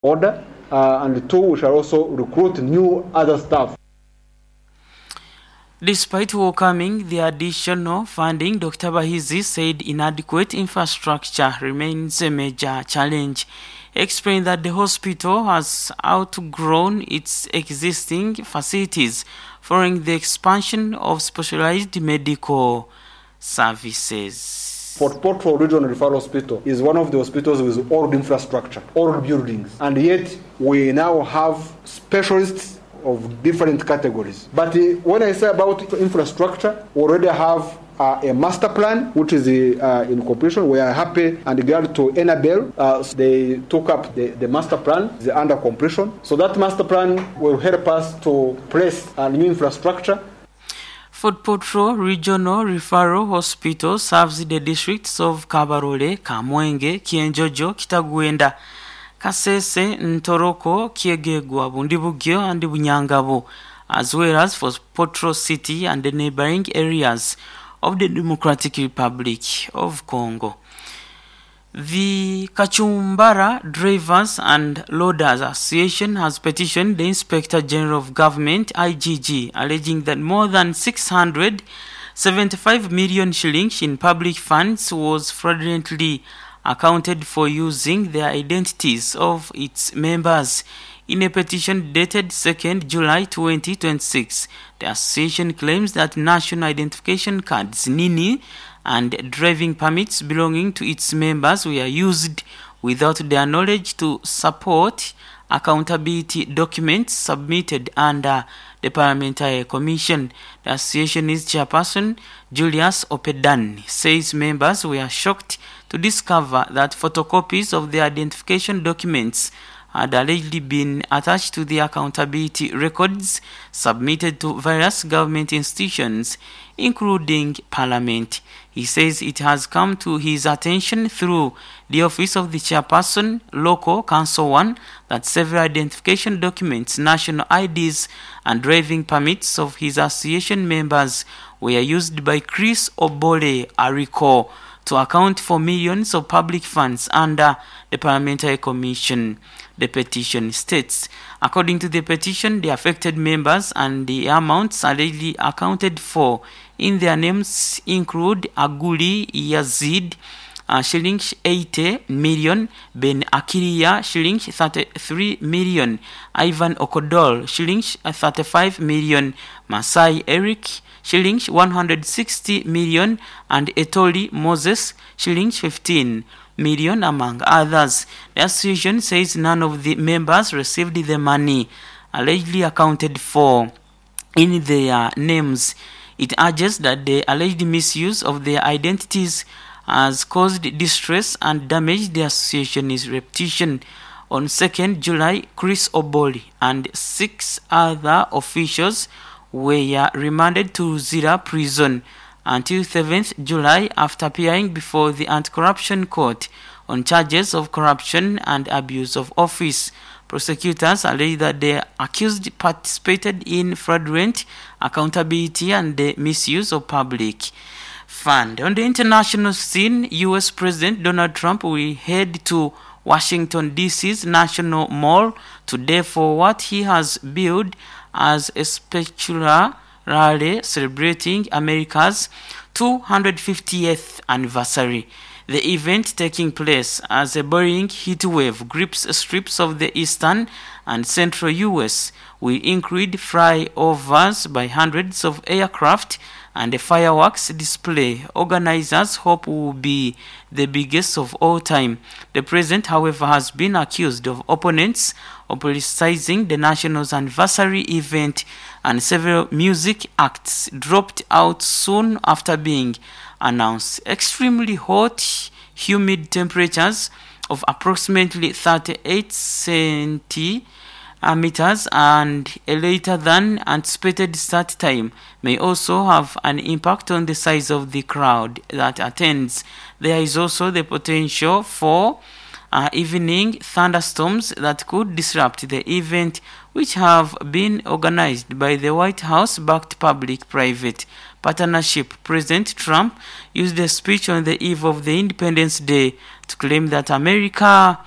Order and too we shall also recruit new other staff. Despite welcoming the additional funding, Dokita Bahizi said inadequate infrastructure remains a major challenge. He explained that the hospital has outgrown its existing facilities following the expansion of specialized medical services. Fort Portal Regional Referral Hospital is one of the hospitals with old infrastructure, old buildings, and yet we now have specialists of different categories. But when I say about infrastructure, we already have a master plan which is in completion. We are happy and glad to Enabel. They took up the, the master plan, is under completion. So that master plan will help us to place a new infrastructure. Fort Portal Regional Referral Hospital serves the districts of Kabarole, Kamwenge, Kyenjojo, Kitagwenda, Kasese, Ntoroko, Kyegegwa, Bundibugyo and Bunyangabo, as well as Fort Portal City and the neighboring areas of the Democratic Republic of Congo. The Kachumbala Drivers and Loaders Association has petitioned the Inspector General of Government, IGG, alleging that more than 675 million shillings in public funds was fraudulently accounted for using the identities of its members. In a petition dated 2nd July 2026, the association claims that national identification cards, NINI, and driving permits belonging to its members were used without their knowledge to support accountability documents submitted under the Parliamentary Commission. The association's chairperson, Julius Opedan, says members were shocked to discover that photocopies of their identification documents had allegedly been attached to the accountability records submitted to various government institutions, including Parliament. He says it has come to his attention through the office of the chairperson, Local Council 1, that several identification documents, national IDs and driving permits of his association members were used by Chris Obole Ariko to account for millions of public funds under the Parliamentary Commission. The petition states. According to the petition, the affected members and the amounts allegedly accounted for in their names include Aguli Yazid, shillings 80 million, Ben Akiria, shillings 33 million, Ivan Okodol, shillings 35 million, Masai Eric, shillings 160 million, and Etoli Moses, shillings 15 million, among others. The association says none of the members received the money allegedly accounted for in their names. It urges that the alleged misuse of their identities has caused distress and damaged the association's reputation. On 2nd July, Chris Oboli and 6 other officials were remanded to Luzira Prison until 7th July after appearing before the Anti-Corruption Court on charges of corruption and abuse of office. Prosecutors allege that the accused participated in fraudulent accountability and the misuse of public fund. On the international scene, US President Donald Trump will head to Washington DC's National Mall today for what he has billed as a spectacular rally celebrating America's 250th anniversary. The event taking place as a boiling heat wave grips strips of the eastern and central US will include flyovers by hundreds of aircraft and a fireworks display organizers hope will be the biggest of all time. The president, however, has been accused of opponents of politicizing the national's anniversary event, and several music acts dropped out soon after being announced. Extremely hot, humid temperatures of approximately 38 centimeters and a later than anticipated start time may also have an impact on the size of the crowd that attends. There is also the potential for evening thunderstorms that could disrupt the event, which have been organized by the White House-backed public-private partnership. President Trump used a speech on the eve of the Independence Day to claim that America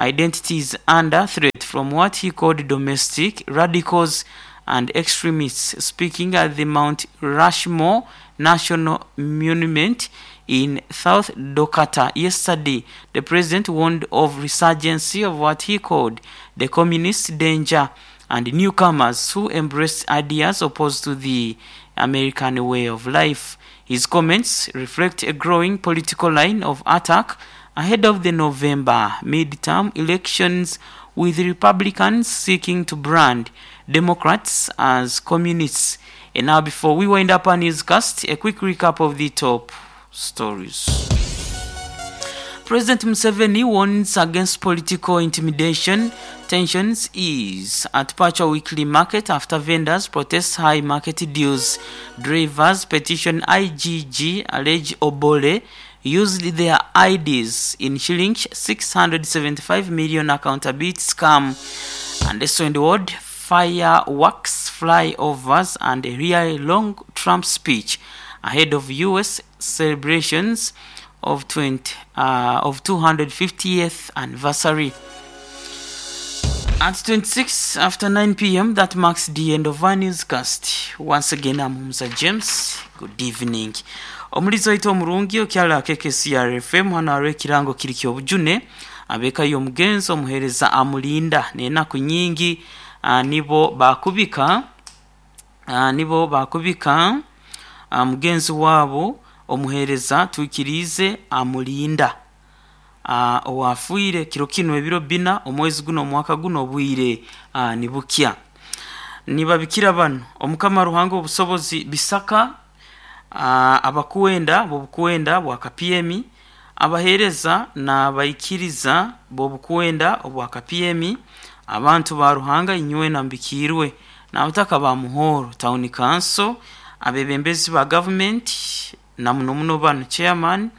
identity is under threat from what he called domestic radicals and extremists. Speaking at the Mount Rushmore National Monument in South Dakota yesterday, the president warned of resurgence of what he called the communist danger and newcomers who embrace ideas opposed to the American way of life. His comments reflect a growing political line of attack ahead of the November midterm elections with Republicans seeking to brand Democrats as communists. And now before we wind up our newscast, a quick recap of the top stories. President Museveni warns against political intimidation. Tensions ease at Pacha Weekly Market after vendors protest high market dues. Drivers petition IGG allege Obole used their IDs in shillings 675 million accountability scam. And so in the world, fireworks, flyovers, and a really long Trump speech ahead of US celebrations of 20, of 250th anniversary. At 26 after 9 p.m., that marks the end of our newscast. Once again, I'm Humza James. Good evening. Omulizi waitu omurungi okyala KKCR FM hano hariho ekirango kiri ky'obujune abeeka y'omugenzi omuheereza amulinda n'enaku nyingi nibo bakubika nibo bakubika mugenzi waabo omuheereza twikiriize amulinda owafiire kiro kinu ebiro bina omwezi guno omwaka guno obwire nibukya nibabikira bano omukama Ruhanga obusobozi bisaka abakuwenda bobukuwenda bwa KPM abaheereza n'abaikiriza bobukuwenda obwa KPM abantu ba Ruhanga inywe nambikirwe n'abataka ba Muhoro Town Council abebembezi ba government na muno muno bano chairman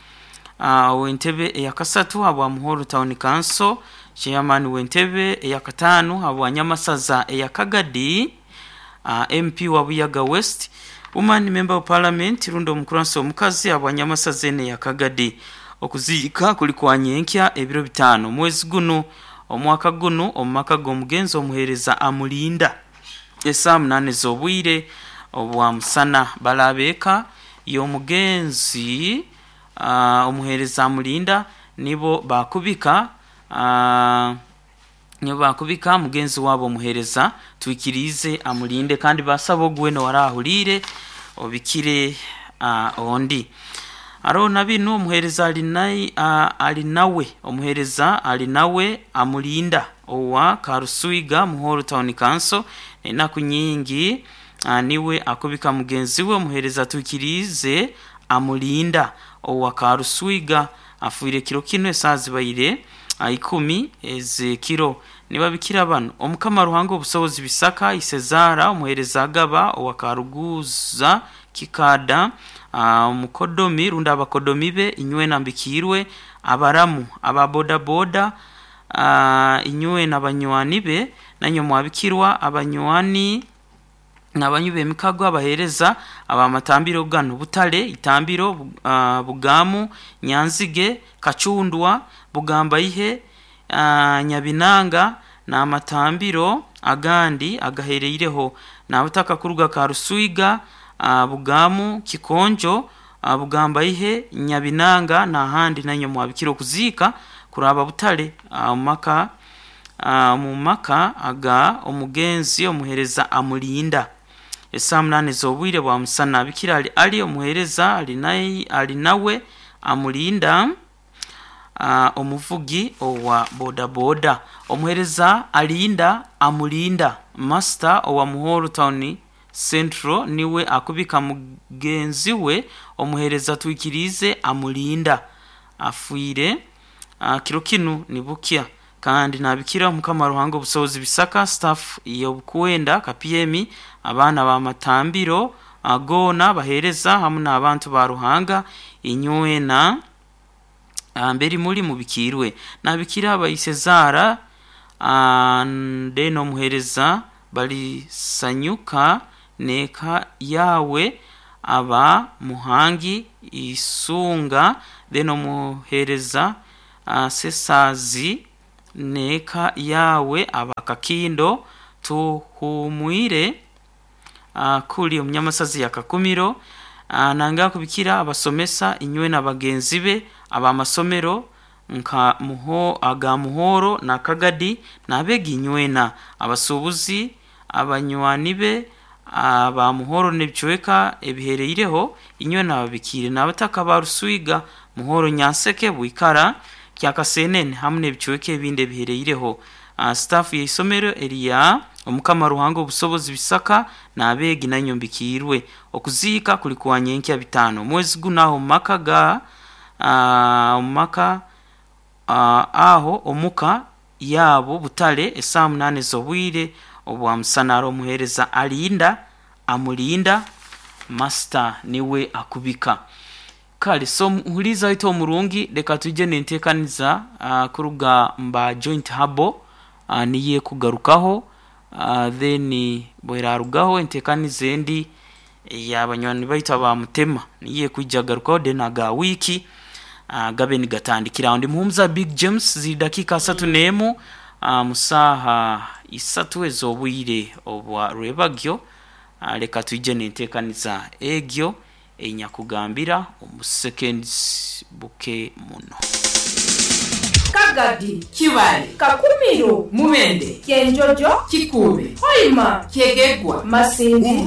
w'entebe eyakasatu habwa Muhoro Town Council, chairman w'entebe eyakataano habwa Nyamasaza eyakagadi, MP wa Buyaga West, woman member of parliament rundi omukuransi omukazi habwa Nyamasaza ene eyakagadi. Okuziika kuli kwa nyenkya ebiro bitaano omwezi guno omwaka guno omu maka g'omugenzi omuheereza amulinda esaaha munaana ez'obwire obwa musana. Balabeeka y'omugenzi omuheereza amulinda nibo bakubika nibo bakubika mugenzi waabo omuheereza twikiriize amulinde kandi basaba ogu weena owaraahuriire obikire ondi. Hariho na binu omuheereza ali nawe omuheereza ali nawe amulinda owa Karuswiga Muhoro Town Council enaku nyingi niwe akubika mugenzi we omuheereza twikiriize amulinda owa Karuswiga afiire kiro kinu esaaha zibaire ikumi ez'ekiro. Nibabikira bano omukama Ruhanga obusobozi bisaka Isezaara omuheereza agaba owa Karuguza Kikada omukodomi rundi abakodomi be inywe nambikiirwe abaramu aba bodaboda inywe n'abanywani be nanywe mwabikirwa abanywani n'abanywi b'emikago abaheereza abamatambiro gano Butare, Itambiro, Bugamu, Nyanzige, Kacundwa, Bugambaihe, Nyabinanga n'amatambiro agandi agahereireho n'abataka kuruga Karuswiga, Bugamu, Kikonjo, Bugambaihe, Nyabinanga n'ahandi nanywe mwabikira okuziika kuraba Butare omu maka aga omugenzi omuheereza amulinda esaaha munaana ez'obwire bwa musana. Bikira ali omuheereza ali nawe amulinda omuvugi owa bodaboda omuheereza alinda amulinda master owa Muhoro Town Central niwe akubika mugenzi we omuheereza twikiriize amulinda afiire kiro kinu nibukya kandi nabikira omukama Ruhanga obusobozi bisaka staff y'obukuwenda KPM abaana b'amatambiro goona baheereza hamu n'abantu ba Ruhanga inywena mberi muri mubikiirwe nabikira abaisezaara then omuheereza balisanyuka n'eka yawe aba Muhangi Isunga then omuheereza Sesaazi n'eka yaawe aba Kakindo Tuhumwire kuri omunyamasazi ya Kakumiro. Nanga kubikira abasomesa inywe na bagenzi be ab'amasomero nka muho aga Muhoro na Kagadi n'abeegi inywena, abasuubuzi, abanywani be aba Muhoro n'ebicweka ebihereireho inywena ababikiire n'abataka ba Ruswiga, Muhoro, Nyanseke, Bwikara, Kyakasenene hamu n'ebicweka ebindi ebihereireho. Staff y'eisomero erya Omukama Ruhanga Obusobozi Bisaka n'abeegi nainywe mbikiirwe. Okuziika kuli kwa nyenkya bitaano omwezi guno aho omu maka ga omu maka aho omuka yaabo Butare esaaha munaana ez'obwire obwa musana. Ari omuheereza alinda amulinda Master niwe akubika. Kale so muhuliiriza waitu omurungi leka twije n'enteekaniza kuruga mba Joint Herbal niyo ekugarukaho then bwerarugaho enteekaniza endi eya banywani baitu aba Mutema niyo ekwija garukaho then aga wiiki gabe nigatandikira aho. Ndi Muhumuza Big James ziri dakiika asatu n'emu mu saaha isatu ez'obwire obwa rwebagyo. Leka twije n'enteekaniza egyo Enyakugambira omu seconds buke muno. Kagadi. Kibale. Kakumiro. Mubende. Kyenjojo. Kikuube. Hoima. Kyegegwa. Masindi.